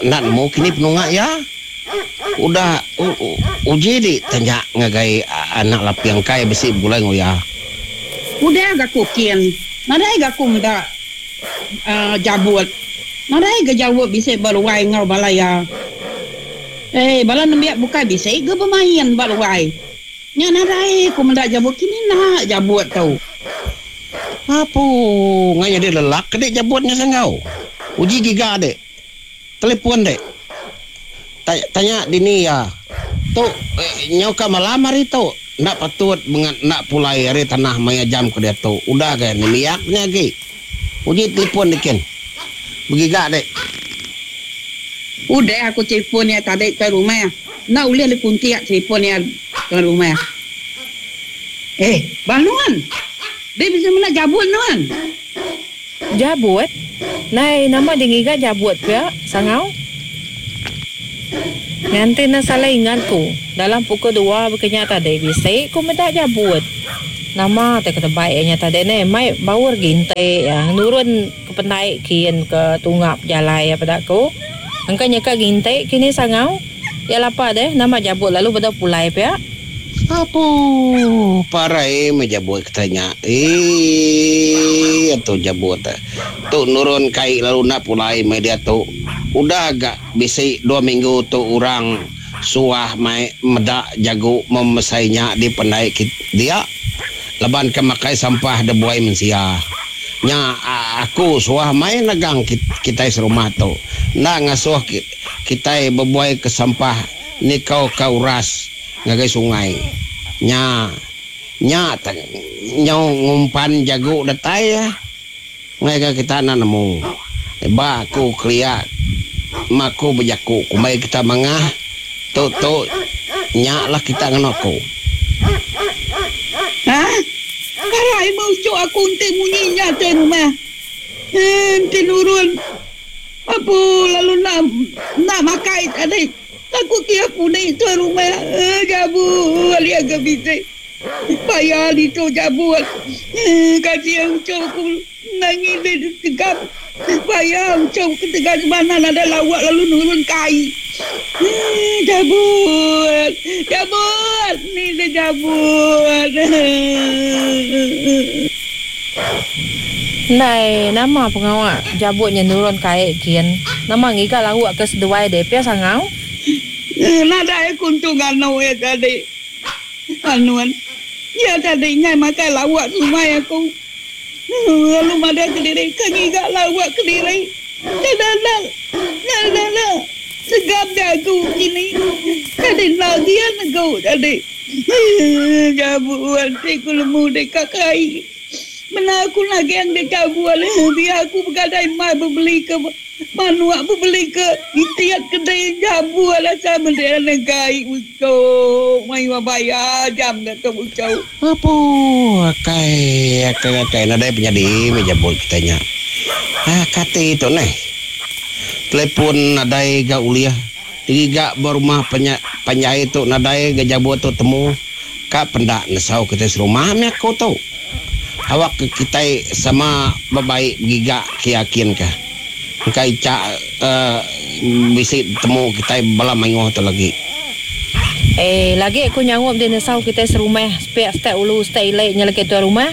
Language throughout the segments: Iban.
enda nemu kini penunga iya. Udah uji di tanya ngagai anak Laping kai bisi begulai enggau iya. Udah ga ku kin, nadai ga ku meda Jabut. Nadai ga Jabut bisi ba ruai enggau bala iya. Ei bala nembiak bukai bisi ga bemain ba ruai. Nya nadai ku meda Jabut kini enda Jabut tu. Apu ngai nyadi lelak ke dik Jabut nya sanggau. Uji giga dik. Telefon dek. Tanya dini iya. Tu nyau ka malam hari tu. Enda patut bengat enda pulai ari tanah maya jam ke diatu. Udah ga nembiak nya agi. Uji telefon dikin. Begiga dek. Udah aku telefon iya tadi tuai rumah. Enda ulih dikuntik telefon iya tuai rumah. Eh, bah nuan. Dek bisi meda jabut nuan. Jabut? Nai nama di ngiga jabut pia, Sangau? Nganti enda salah ingat ku, dalam pukul dua baka nya tadi bisi ku meda jabut. Nama te ketebai iya nya tadi neh mai baur ginti iya nurun ke pendai kin ke tunga pejalai iya peda ku. Engka nyeka ginti kini Sangau. Iya lapa deh nama jabut lalu bedau pulai pia. Apu parai meh jabut kitai nya. Eii tu jabut tu nurun kai lalu enda pulai meh diatu. Udah ga bisi dua minggu tu orang suah mai meda jagu memesai nya di pendai dia laban ke makai sampah da buai mensia. Nya aku suah mai nagang kitai serumah tu enda ngasuh kitai bebuai ke sampah nikau ka uras ngagai sungai nya. Nya nyau ngumpan jagu datai ngagai kita enda nemu. Ba aku kelia ma aku bejaku kumbai kita mangah tu tu nya lah kita ngena aku. Hah? Parai meh uchu aku enti munyi nya tai rumah. Enti nurun apu lalu enda enda makai tadi. Aku kia puni tuai rumah jabu ali aga bisi paya ditu jabu kasih uchu ku nangi deh tegap paya uchu ketegal sebana nadai lawak lalu nurun kai jabu jabu ni deh jabu. Ndai nama pengawa jabut nya nurun kai kin. Nama ngiga lauk ke seduai deh pia sangau. Nadai aku entu nganu iya tadi. Anun. Iya tadi enggai makai lauk sumai aku. Lalu madah kediri ke ngiga lauk kediri. Kada enda enda enda segap jagu kini. Tadi enda gian negu tadi. Jabu enti ku nemu deka kai. Mena aku nagang deka bual biar aku begadai mai bebeli ke manuk bebeli ke itit kedai jabu asal mende negai uchu mayuh bayar jam da tu uchu. Apu akai akai akai nadai penyadi meh jabut kitai nya. Ah kati tu neh. Telefon nadai ga ulih digiga ba rumah panjai tu nadai ga jabut tu temu. Ka penda nesau kitai serumah meh aku tu. Awak ke kitai sama bebaik begiga ke yakin ka. Engka icha bisi betemu kitai bala mayuh tu lagi. Eh lagi aku nyaup deh nesau kitai serumah sepiak setak ulu setak ili nya lagi tuai rumah.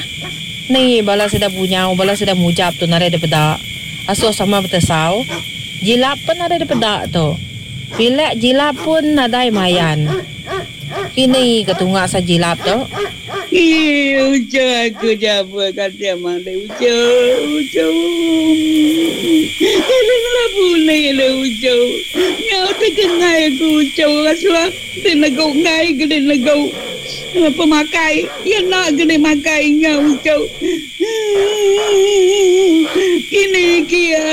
Ni bala sida bunyau bala sida mujap tu nadai dipeda. Asuh sama betesau. Jilap pun nadai dipeda tu. Pilek jilap pun nadai mayan. Kini ke tunga sa jilap tu. Ii uchu aku jaba kasih mali uchu uchu Kena ngela puni le uchu Nyau tekengai aku uchu Rasa ti negu enggai ke di negu pemakai Iya enda ke di makai nya uchu Kini kia.